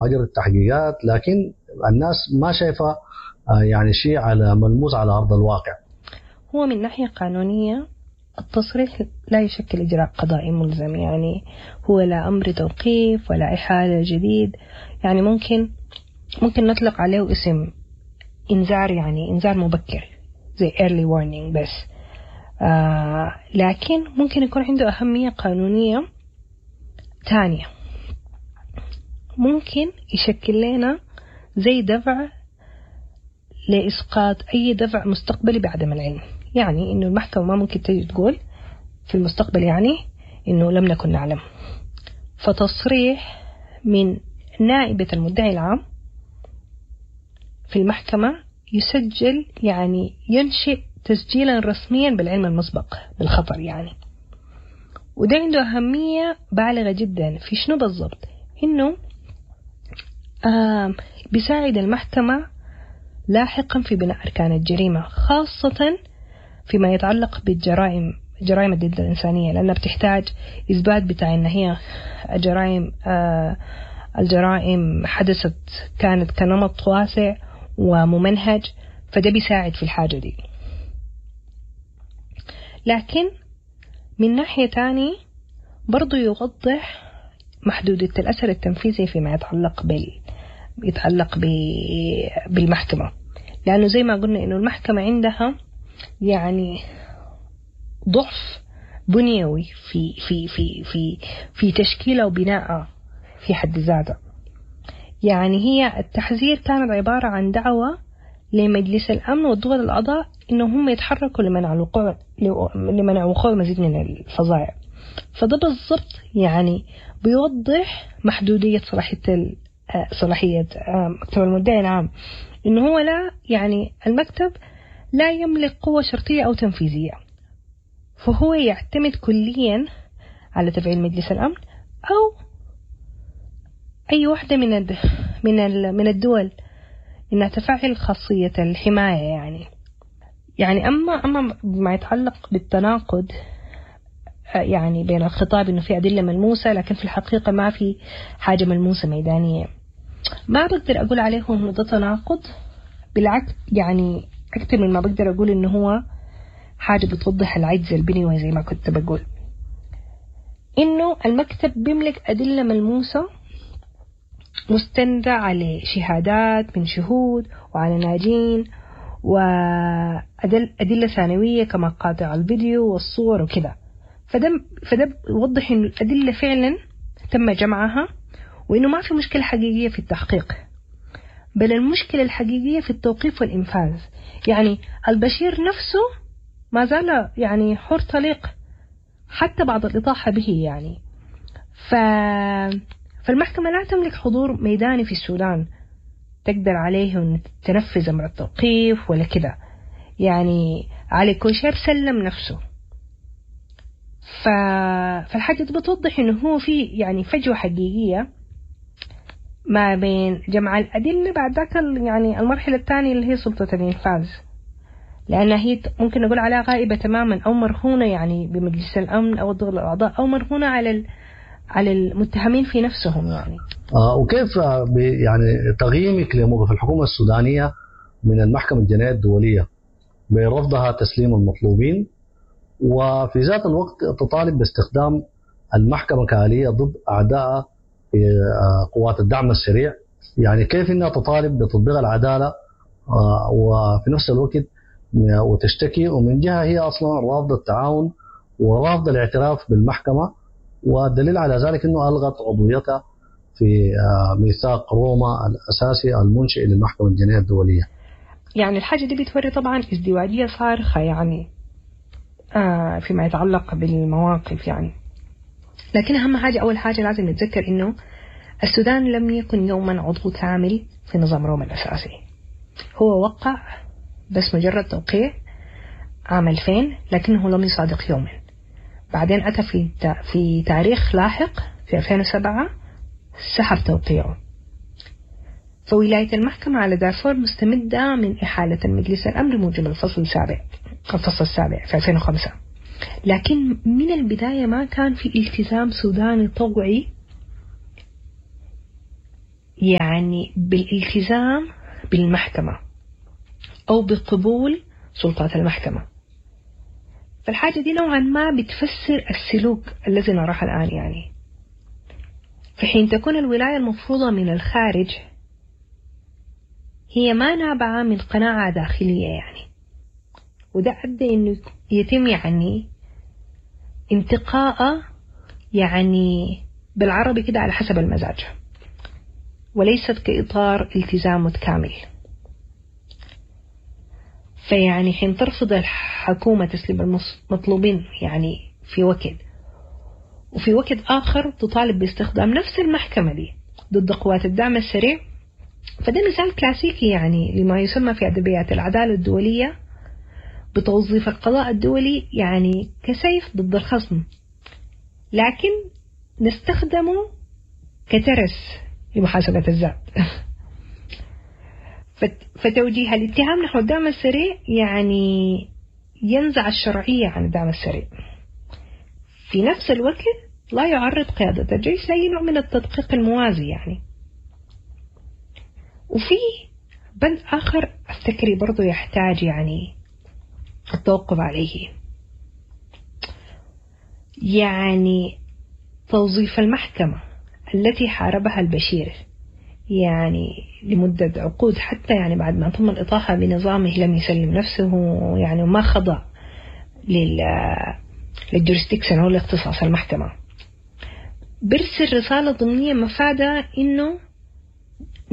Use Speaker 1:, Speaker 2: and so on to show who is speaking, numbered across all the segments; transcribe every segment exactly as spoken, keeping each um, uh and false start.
Speaker 1: اجرت تحقيقات، لكن الناس ما شايفه يعني شيء على ملموس على ارض الواقع.
Speaker 2: هو من ناحية قانونية التصريح لا يشكل إجراء قضائي ملزم، يعني هو لا أمر توقيف ولا إحالة جديد، يعني ممكن ممكن نطلق عليه اسم إنذار، يعني إنذار مبكر زي early warning بس، آه لكن ممكن يكون عنده أهمية قانونية تانية، ممكن يشكل لنا زي دفع لإسقاط أي دفع مستقبلي بعدم العلم. يعني إنه المحكمة ما ممكن تيجي تقول في المستقبل يعني إنه لم نكن نعلم. فتصريح من نائبة المدعي العام في المحكمة يسجل، يعني ينشئ تسجيلا رسميا بالعلم المسبق بالخطر يعني، وده عنده أهمية بالغة جدا في شنو بالضبط؟ إنه آه بيساعد المحكمة لاحقا في بناء أركان الجريمة، خاصة فيما يتعلق بالجرائم، جرائم ضد الإنسانية، لأنها بتحتاج إثبات بتاع إن هي جرائم، آه الجرائم حدثت كانت كنمط واسع وممنهج، فده بيساعد في الحاجة دي. لكن من ناحية تاني برضو يوضح محدودية الأثر التنفيذي فيما يتعلق بال يتعلق ب... بالمحكمة، لأنه زي ما قلنا إنه المحكمة عندها يعني ضعف بنيوي في في في في في تشكيلها وبنائها في حد ذاتها. يعني هي التحذير كانت عبارة عن دعوة لمجلس الأمن والدول الأعضاء إنه هم يتحركوا لمنع الوقوع، لمنع وقوع مزيد من الفظائع. فده بالضبط يعني بيوضح محدودية صلاحية صلاحية مكتب المدعي العام، إنه هو لا يعني المكتب لا يملك قوة شرطية أو تنفيذية، فهو يعتمد كليا على تفعيل مجلس الأمن أو أي واحدة من الد... من ال... من الدول إنها تفعل خاصية الحماية. يعني يعني أما أما ما يتعلق بالتناقض يعني بين الخطاب إنه في أدلة ملموسة لكن في الحقيقة ما في حاجة ملموسة ميدانية، ما بقدر أقول عليه إنه ده تناقض، بالعكس يعني أكثر من ما بقدر أقول إنه هو حاجة بتوضح العجز البنيوي زي ما كنت بقول، إنه المكتب بيملك أدلة ملموسة مستندة على شهادات من شهود وعلى ناجين وأدلة ثانوية كما قاطع الفيديو والصور وكده، فده فده بيوضح إنه الأدلة فعلا تم جمعها وإنه ما في مشكلة حقيقية في التحقيق، بل المشكلة الحقيقية في التوقيف والإنفاذ. يعني البشير نفسه ما زال يعني حر طليق حتى بعد الإطاحة به يعني. ف... فالمحكمة لا تملك حضور ميداني في السودان تقدر عليه أن تنفذ أمر التوقيف ولا كده. يعني علي كوشير سلم نفسه، ف... فالحاجة دي بتوضح إنه هو في يعني فجوة حقيقية ما بين جمع الأدلة بعد ذاك يعني المرحلة الثانية اللي هي سلطة الإنفاذ، لأنها هي ممكن نقول عليها غائبة تماما أو مرهونة يعني بمجلس الأمن أو الدول الأعضاء أو مرهونة على ال... على المتهمين في نفسهم يعني.
Speaker 1: آه وكيف يعني تقييمك لموقف الحكومة السودانية من المحكمة الجنائية الدولية برفضها تسليم المطلوبين، وفي ذات الوقت تطالب باستخدام المحكمة كآلية ضد أعداء في قوات الدعم السريع؟ يعني كيف إنها تطالب بتطبيق العدالة وفي نفس الوقت وتشتكي، ومن جهة هي أصلا رافضة التعاون ورافضة الاعتراف بالمحكمة، والدليل على ذلك أنه ألغت عضويتها في ميثاق روما الأساسي المنشئ للمحكمة الجنائية الدولية.
Speaker 2: يعني الحاجة دي بتوري طبعا ازدواجية صارخة يعني آه فيما يتعلق بالمواقف يعني. لكن أهم حاجة، أول حاجة لازم نتذكر إنه السودان لم يكن يوما عضو كامل في نظام روما الأساسي، هو وقع بس مجرد توقيع عام ألفين لكنه لم يصادق يوما. بعدين أتى في في تاريخ لاحق في ألفين وسبعة سحب توقيعه. فولاية المحكمة على دارفور مستمدة من إحالة المجلس الأمن بموجب الفصل السابع الفصل السابع في ألفين وخمسة، لكن من البداية ما كان في التزام سوداني طوعي يعني بالالتزام بالمحكمة أو بقبول سلطات المحكمة. فالحاجة دي نوعا ما بتفسر السلوك الذي نراه الآن يعني. في حين تكون الولاية المفروضة من الخارج هي ما نابعة من قناعة داخلية يعني، وده أدى إنه يتم يعني انتقاء يعني بالعربي كده على حسب المزاج، وليست كإطار التزام متكامل. فيعني حين ترفض الحكومة تسليم المطلوبين يعني في وقت، وفي وقت آخر تطالب باستخدام نفس المحكمة دي ضد قوات الدعم السريع، فده مثال كلاسيكي يعني لما يسمى في أدبيات العدالة الدولية بتوظيف القضاء الدولي يعني كسيف ضد الخصم، لكن نستخدمه كترس لمحاسبة الذات. فتوجيه الاتهام نحو الدعم السريع يعني ينزع الشرعية عن الدعم السريع، في نفس الوقت لا يعرض قيادة الجيش لأي نوع من التدقيق الموازي يعني. وفي بند آخر أفتكري برضو يحتاج يعني التوقف عليه، يعني توظيف المحكمة التي حاربها البشير يعني لمدة عقود، حتى يعني بعد ما تم الإطاحة بنظامه لم يسلم نفسه يعني وما خضع لل للجورستيكشن أو لاختصاص المحكمة، برسل رسالة ضمنية مفادة إنه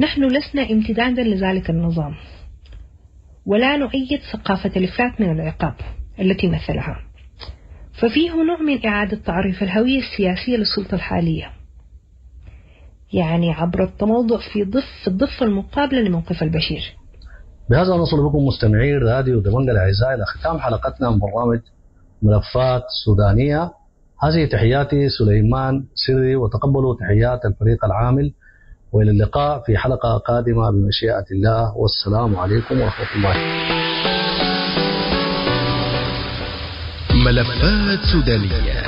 Speaker 2: نحن لسنا امتدادا لذلك النظام، ولا نؤيد ثقافة الإفلات من العقاب التي مثلها. ففيه نوع من إعادة تعريف الهوية السياسية للسلطة الحالية يعني عبر التموضع في ضف الضفة المقابلة لموقف البشير.
Speaker 1: بهذا نصل بكم مستمعي راديو دبنجة الأعزاء إلى ختام حلقتنا من برنامج ملفات سودانية. هذه تحياتي سليمان سري، وتقبلوا تحيات الفريق العامل، وإلى اللقاء في حلقة قادمة بمشيئة الله، والسلام عليكم ورحمة الله.
Speaker 3: ملفات سودانية،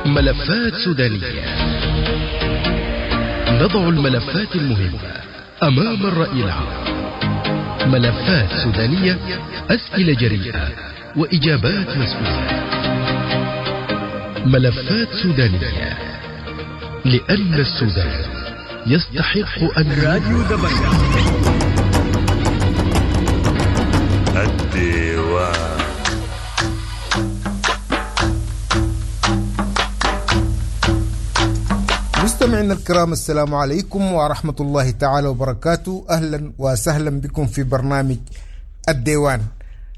Speaker 3: ملفات سودانية، نضع الملفات المهمة أمام الرأي العام. ملفات سودانية، أسئلة جريئة وإجابات مسؤولة. ملفات سودانية، لأن السودان يستحق أن.
Speaker 4: راديو دبنجة الديوان.
Speaker 5: مستمعينا الكرام، السلام عليكم ورحمة الله تعالى وبركاته. أهلا وسهلا بكم في برنامج الديوان.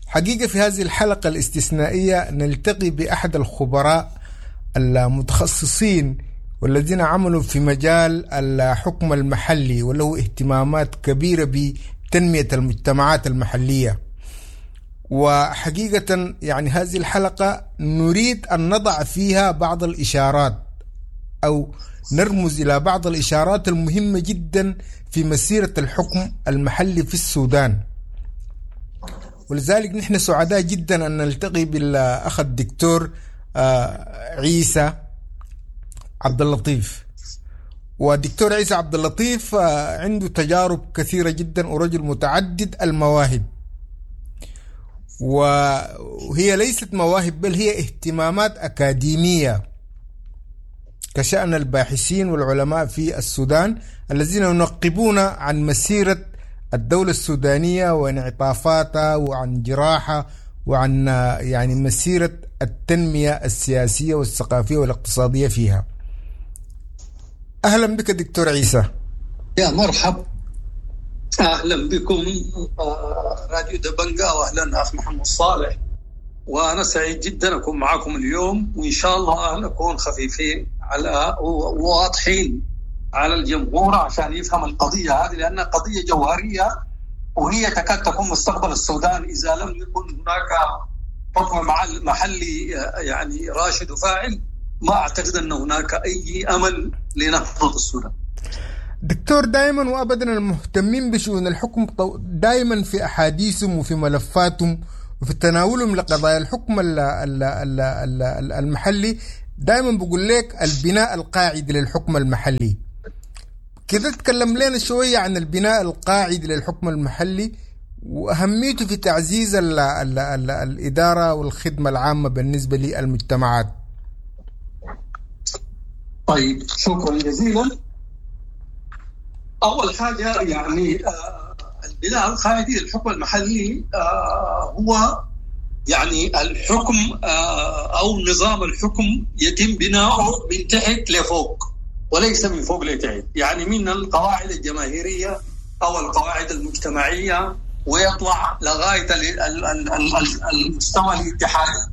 Speaker 5: حقيقة في هذه الحلقة الاستثنائية نلتقي بأحد الخبراء المتخصصين والذين عملوا في مجال الحكم المحلي وله اهتمامات كبيرة بتنمية المجتمعات المحلية. وحقيقة يعني هذه الحلقة نريد أن نضع فيها بعض الإشارات أو نرمز إلى بعض الإشارات المهمة جدا في مسيرة الحكم المحلي في السودان. ولذلك نحن سعداء جدا أن نلتقي بالأخ الدكتور عيسى عبد اللطيف. والدكتور عيسى عبد اللطيف عنده تجارب كثيرة جدا ورجل متعدد المواهب، وهي ليست مواهب بل هي اهتمامات أكاديمية كشأن الباحثين والعلماء في السودان الذين ينقبون عن مسيرة الدولة السودانية وانعطافاتها وعن جراحة وعن يعني مسيرة التنمية السياسية والثقافية والاقتصادية فيها. أهلا بك دكتور عيسى.
Speaker 6: يا مرحب، أهلا بكم راديو دبنجة، وأهلا أخ محمد صالح، وأنا سعيد جدا أكون معكم اليوم، وإن شاء الله نكون خفيفين على وواضحين على الجمهور عشان يفهم القضية هذه، لأنها قضية جوهرية وهي تكاد تكون مستقبل السودان إذا لم يكن هناك حكم محلي يعني راشد وفاعل. ما أعتقد أن هناك أي أمل لنهضة السودان.
Speaker 5: دكتور، دائما وأبدا المهتمين بشؤون الحكم دائما في أحاديثهم وفي ملفاتهم وفي تناولهم لقضايا الحكم المحلي دائما بقول لك البناء القاعدي للحكم المحلي. كده تكلم لنا شوية عن البناء القاعدي للحكم المحلي وأهميته في تعزيز ال ال ال الإدارة والخدمة العامة بالنسبة للمجتمعات.
Speaker 6: طيب، شكرا جزيلا. أول حاجة يعني البناء القاعدي للحكم المحلي هو يعني الحكم أو نظام الحكم يتم بناؤه من تحت لفوق وليس من فوق لتحت، يعني من القواعد الجماهيرية أو القواعد المجتمعية ويطلع لغاية المستوى الاتحادي.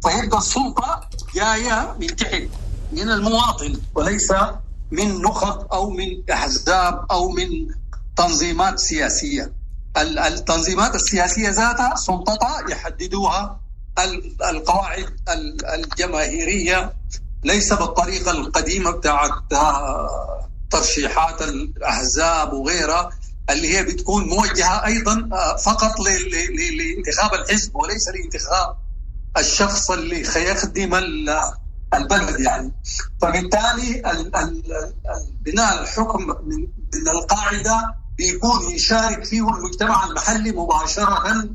Speaker 6: فيبقى السلطة جاية من تحت من المواطن وليس من نخب أو من أحزاب أو من تنظيمات سياسية. التنظيمات السياسية ذاتها سلطتها يحددوها القواعد الجماهيرية، ليس بالطريقة القديمة بتاعت ترشيحات الأحزاب وغيرها اللي هي بتكون موجهة أيضا فقط لانتخاب الحزب وليس لانتخاب الشخص اللي خيخدم البلد يعني. فبالتالي بناء الحكم من القاعدة بيكون يشارك فيه المجتمع المحلي مباشرة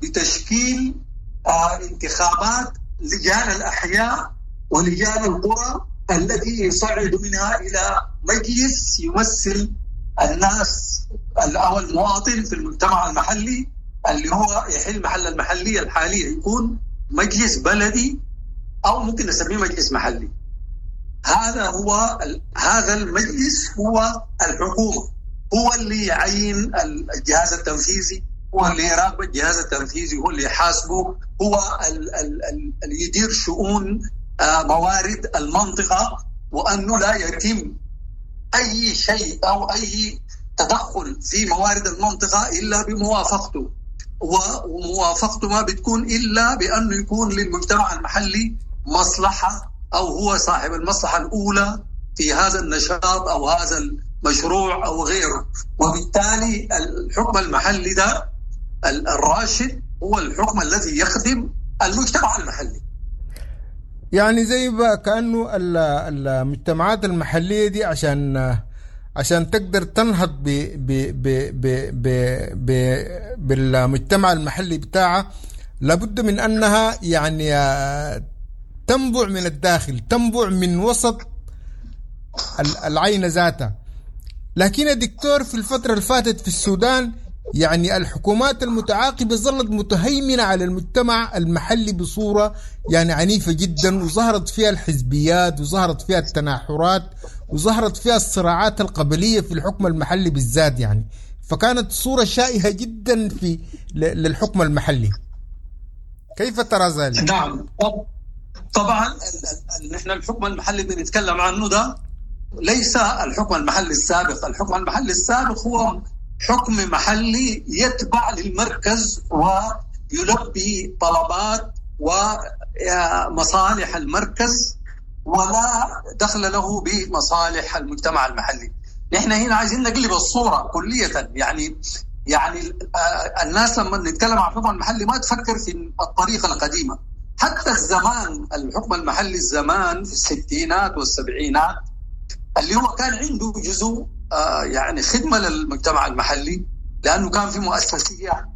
Speaker 6: بتشكيل انتخابات لجان الأحياء ولجان القرى التي يصعد منها إلى مجلس يمثل الناس أو المواطن في المجتمع المحلي اللي هو يحل محل المحلية الحالية، يكون مجلس بلدي أو ممكن نسميه مجلس محلي. هذا هو هذا المجلس هو الحكومة، هو اللي يعين الجهاز التنفيذي، هو اللي يراقب الجهاز التنفيذي، هو اللي يحاسبه، هو اللي يدير شؤون موارد المنطقة، وأنه لا يتم أي شيء أو أي تدخل في موارد المنطقة إلا بموافقته، وموافقته ما بتكون إلا بأنه يكون للمجتمع المحلي مصلحة أو هو صاحب المصلحة الأولى في هذا النشاط أو هذا المشروع أو غيره. وبالتالي الحكم المحلي ده الراشد هو الحكم الذي يخدم المجتمع المحلي.
Speaker 5: يعني زي بقى كأنه المجتمعات المحلية دي عشان عشان تقدر تنهض ب ب ب ب ب ب بالمجتمع المحلي بتاعها لابد من أنها يعني تنبع من الداخل، تنبع من وسط العين ذاتها. لكن يا دكتور في الفترة اللي فاتت في السودان يعني الحكومات المتعاقبة ظلت متهيمنة على المجتمع المحلي بصورة يعني عنيفة جدا، وظهرت فيها الحزبيات وظهرت فيها التناحرات وظهرت فيها الصراعات القبلية في الحكم المحلي بالذات يعني، فكانت صورة شائهة جدا في للحكم المحلي. كيف ترى ذلك؟
Speaker 6: نعم طبعا نحن الحكم المحلي اللي بنتكلم عنه ده ليس الحكم المحلي السابق. الحكم المحلي السابق هو حكم محلي يتبع للمركز ويلبي طلبات ومصالح المركز ولا دخل له بمصالح المجتمع المحلي. نحن هنا عايزين نقلب الصورة كلية. يعني يعني الناس لما نتكلم عن الحكم المحلي ما تفكر في الطريقة القديمة. حتى الزمان الحكم المحلي الزمان في الستينات والسبعينات اللي هو كان عنده جزء يعني خدمة للمجتمع المحلي لأنه كان في مؤسسية،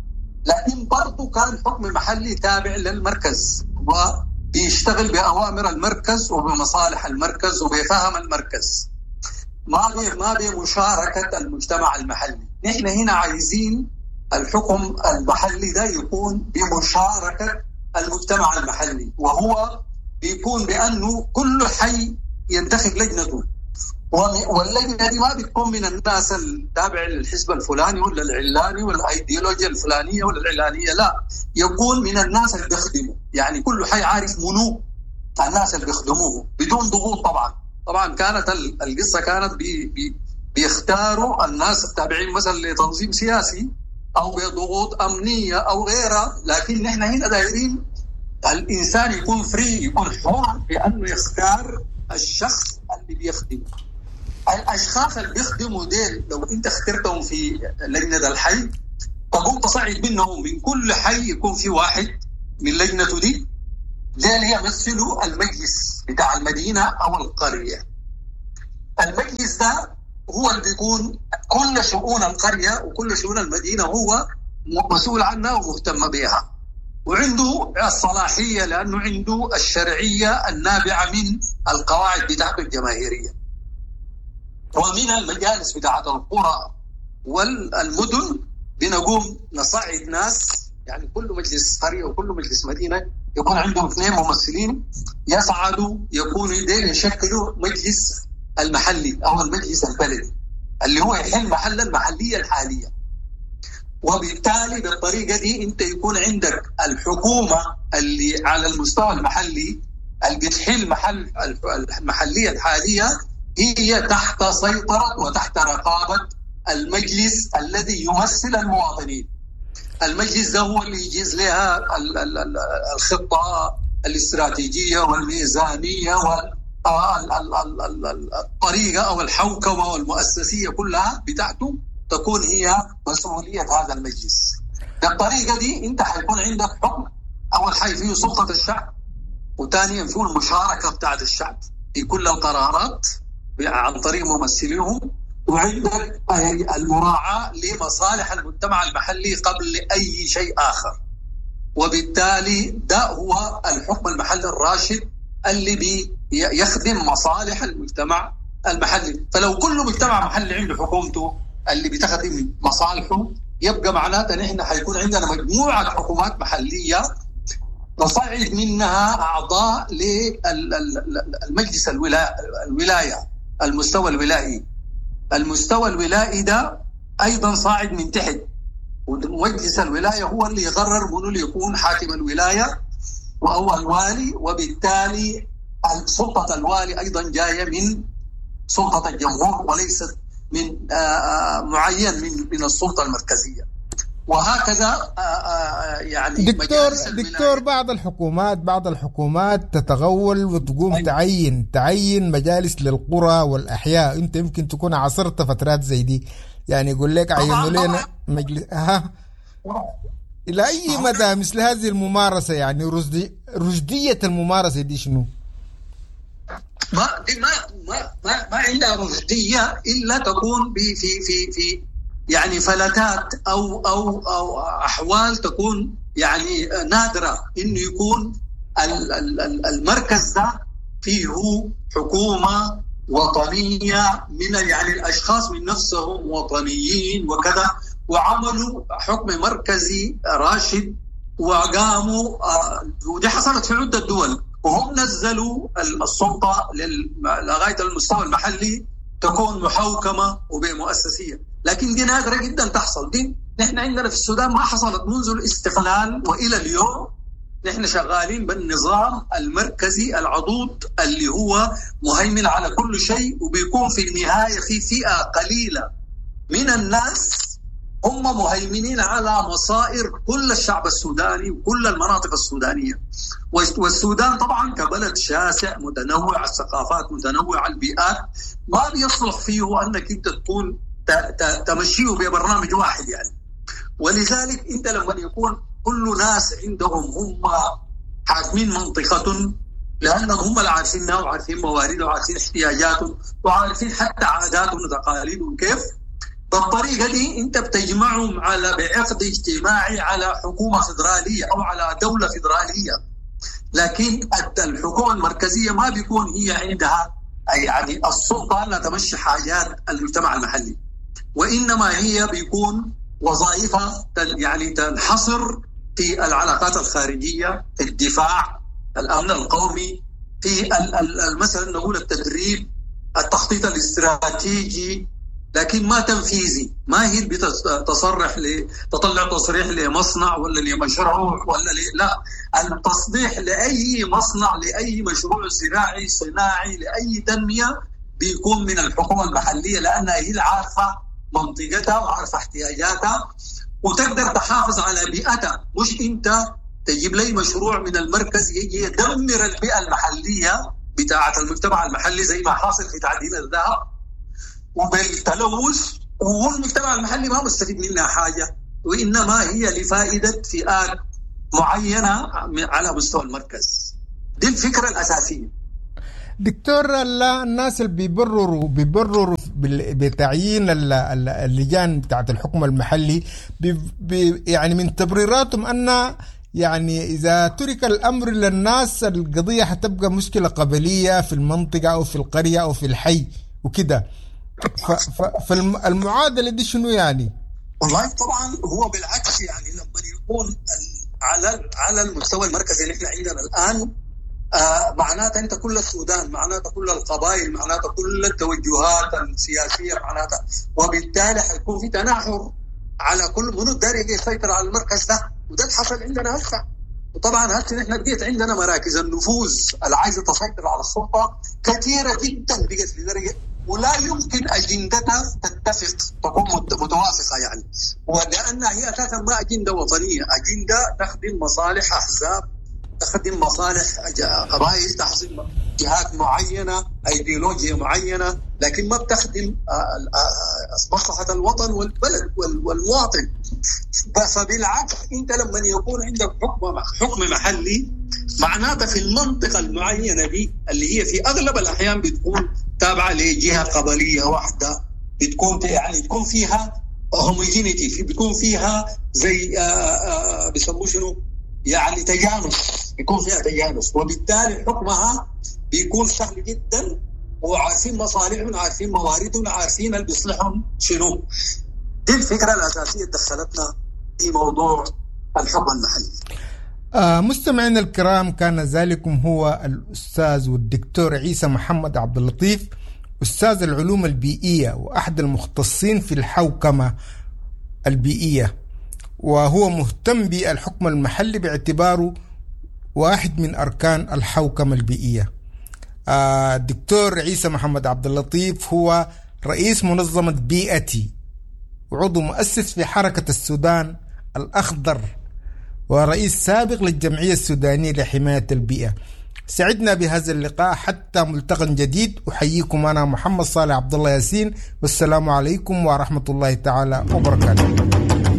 Speaker 6: لكن برضه كان حكم محلي تابع للمركز وبيشتغل بأوامر المركز وبمصالح المركز وبفهم المركز، ما ما بمشاركة المجتمع المحلي. نحن هنا عايزين الحكم المحلي ده يكون بمشاركة المجتمع المحلي، وهو بيكون بأنه كل حي ينتخب لجنته، واللجنة دي ما بتكون من الناس التابع للحزب الفلاني ولا العلاني ولا الايديولوجيا الفلانية ولا العلانية، لا، يكون من الناس اللي بيخدموا. يعني كل حي عارف منو الناس اللي بيخدموه بدون ضغوط. طبعا طبعا كانت القصة كانت بي بي بيختاروا الناس التابعين مثلا لتنظيم سياسي أو بضغوط أمنية أو غيرها، لكن نحن هنا دايرين الإنسان يكون free، يكون حر في أنه يختار الشخص اللي بيخدمه. الأشخاص اللي بيخدموا ديل لو أنت اخترتهم في لجنة الحي تقوم تصعد منهم من كل حي يكون في واحد من لجنته دي ديل يمثلوا المجلس بتاع المدينة أو القرية. المجلس ده هو اللي بيكون كل شؤون القرية وكل شؤون المدينة هو مسؤول عنها ومهتم بها، وعنده الصلاحية لأنه عنده الشرعية النابعة من القواعد بتاعته الجماهيرية ومن المجالس بتاعت القرى والمدن. بنقوم نصعد ناس، يعني كل مجلس قرية وكل مجلس مدينة يكون عندهم اثنين ممثلين يصعدوا، يكونوا يشكلوا مجلس المحلي أو المجلس البلدي اللي هو يحل محل المحلية الحالية. وبالتالي بالطريقة دي أنت يكون عندك الحكومة اللي على المستوى المحلي اللي بتحل محل المحلية الحالية هي تحت سيطرة وتحت رقابة المجلس الذي يمثل المواطنين. المجلس ده هو اللي يجيز لها الخطة الاستراتيجية والميزانية والطريقة أو الحوكمة والمؤسسية كلها بتاعته تكون هي مسؤولية هذا المجلس. بالطريقة دي أنت حيكون عندك حكم، أول حاجة فيه سلطة الشعب، وثانيا فيه المشاركة بتاعت الشعب في كل القرارات عن طريق ممثليهم، وعندك المراعاة لمصالح المجتمع المحلي قبل أي شيء آخر. وبالتالي ده هو الحكم المحلي الراشد اللي بيخدم مصالح المجتمع المحلي. فلو كل مجتمع محلي عنده حكومته اللي بتخدم مصالحه، يبقى معناته نحن حيكون عندنا مجموعة حكومات محلية نصعد منها أعضاء للمجلس الولاية، المستوى الولائي. المستوى الولائي ده أيضا صاعد من تحت، ومجلس الولاية هو اللي يقرر منو اللي يكون حاكم الولاية وهو الوالي، وبالتالي سلطة الوالي أيضا جاية من سلطة الجمهور وليست من معين من من السلطة المركزية. وهكذا يعني
Speaker 5: دكتور دكتور بعض الحكومات بعض الحكومات تتغول وتقوم أيوة. تعين تعين مجالس للقرى والأحياء. أنت يمكن تكون عاصرت فترات زي دي، يعني يقول لك عينوا لنا مجلس. ها إلى أي مدى مثل هذه الممارسة، يعني رشدي رشدية الممارسة دي شنو؟
Speaker 6: ما دي ما ما ما, ما عندها رشدية إلا تكون في في في في يعني فلتات أو أو أو أحوال تكون يعني نادرة، إنه يكون المركز ده فيه حكومة وطنية من يعني الأشخاص من نفسهم وطنيين وكذا، وعملوا حكم مركزي راشد وقاموا، ودي حصلت في عدة دول، وهم نزلوا السلطة لغاية المستوى المحلي تكون محوكمة وبمؤسسية. لكن دي نادرة جدا تحصل. دي نحن عندنا في السودان ما حصلت منذ الاستقلال وإلى اليوم. نحن شغالين بالنظام المركزي العضوض اللي هو مهيمن على كل شيء، وبيكون في النهاية في فئة قليلة من الناس هم مهيمنين على مصائر كل الشعب السوداني وكل المناطق السودانية. والسودان طبعا كبلد شاسع متنوع الثقافات متنوع البيئات، ما بيصلح فيه أنك أنت تكون تمشيه ببرنامج واحد يعني. ولذلك أنت لما يكون كل ناس عندهم هم حاكمين منطقة، لأنهم هم اللي عارفينها وعارفين مواردها وعارفين احتياجاتهم وعارفين حتى عاداتهم وتقاليدهم كيف، بالطريقة دي أنت بتجمعهم على بعقد اجتماعي على حكومة فدرالية أو على دولة فدرالية. لكن الحكومة المركزية ما بيكون هي عندها يعني السلطة لا تمشي حاجات المجتمع المحلي، وإنما هي بيكون وظائفها يعني تنحصر في العلاقات الخارجية، في الدفاع، الأمن القومي، في مثلا نقول التدريب، التخطيط الاستراتيجي، لكن ما تنفيذي. ما هي بتصرح ل تطلع تصريح لمصنع ولا لمشروع ولا ل... لا، التصريح لأي مصنع لأي مشروع زراعي صناعي لأي تنمية بيكون من الحكومة المحلية، لأنها هي العارفة منطقتها وعارفة احتياجاتها وتقدر تحافظ على بيئتها. مش أنت تجيب لي مشروع من المركز يجي يدمر البيئة المحلية بتاعة المجتمع المحلي زي ما حاصل في تعدين الذهب وبالتلوث، والمجتمع المحلي ما مستفيد منها حاجة، وإنما هي لفائدة فئات معينة على مستوى المركز. دي الفكرة الأساسية.
Speaker 5: دكتور، الناس اللي بيبرروا بيبرروا بتعيين اللجان بتاعت الحكم المحلي بي بي يعني من تبريراتهم أن يعني إذا ترك الأمر للناس القضية حتبقى مشكلة قبلية في المنطقة أو في القرية أو في الحي وكده، فالمعادلة دي شنو يعني؟
Speaker 6: والله طبعا هو بالعكس، يعني لما يكون على على المستوى المركزي اللي احنا عندنا الآن آه معناته انت كل السودان، معناته كل القبائل، معناته كل التوجهات السياسية، معناته وبالتالي حيكون في تناحر على كل منو داير يسيطر على المركز ده، وده اللي حصل عندنا هسه. وطبعا هسه نحن بقيت عندنا مراكز النفوذ اللي عايزه تسيطر على السلطة كثيرة جدا، بقت لدرجة ولا يمكن اجندتها تتفق تكون متوافقة يعني، ولانها هي اساسا ما اجندة وطنية، اجندة تخدم مصالح احزاب، تخدم مصالح قبائل، تخدم جهات معينة، ايديولوجيا معينة، لكن ما بتخدم مصلحة الوطن والبلد والمواطن. فبالعكس انت لما يكون عندك حكم حكم محلي معناته في المنطقة المعينة دي اللي هي في اغلب الاحيان بتكون تابعه لجهة قبليه واحدة، بتكون يعني تكون فيها هوموجينيتي، بيكون فيها زي بيسموه شنو يعني تجانس، بيكون فيها تجانس، وبالتالي حكمها بيكون سهل جدا، وعارفين مصالحهم، عارفين مواردهم، عارفين اللي بيصلحهم شنو. دي الفكرة الأساسية دخلتنا في موضوع الحكم المحلي.
Speaker 5: آه مستمعينا الكرام، كان ذلكم هو الأستاذ والدكتور عيسى محمد عبد اللطيف، أستاذ العلوم البيئية وأحد المختصين في الحوكمة البيئية، وهو مهتم بالحكم المحلي باعتباره واحد من أركان الحوكمة البيئية. الدكتور عيسى محمد عبد اللطيف هو رئيس منظمة بيئتي وعضو مؤسس في حركة السودان الأخضر ورئيس سابق للجمعية السودانية لحماية البيئة. سعدنا بهذا اللقاء حتى ملتقى جديد. أحييكم أنا محمد صالح عبد الله ياسين، والسلام عليكم ورحمة الله تعالى وبركاته.